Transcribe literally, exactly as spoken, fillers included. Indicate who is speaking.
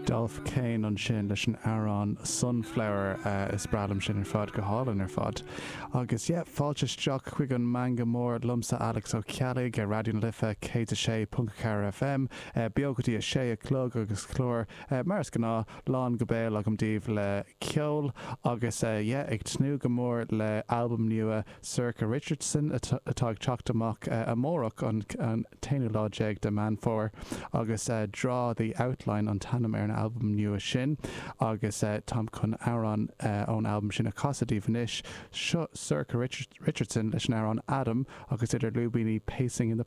Speaker 1: Dolph Kane ansin leis an amhrán Sunflower uh, is breá liom sin ar fad go hálainn ar fad. Agus yeah, fáilte isteach chuig an Meangadh Mór liomsa Alex Ó Ceallaigh ar Raidió na Life céad a sé ponc ceathair FM, uh, beo go dtí a sé a chlog agus clár uh, mar is gnáth lán go béal agam daoibh le ceol agus uh, yeah, ag tnúth go mór le albam nua Sorcha Richardson atá ag teacht amach uh, amárach an, an t-aonú lá déag de Mheán Fómhair agus uh, Draw the Outline an t-ainm ar an albam nua sin agus uh, táim chun amhrán uh, ón albam sin a chasadh daoibh anois seo Sorcha Richard, Richardson leis an amhrán Adam agus idir lúibíní Pacing in the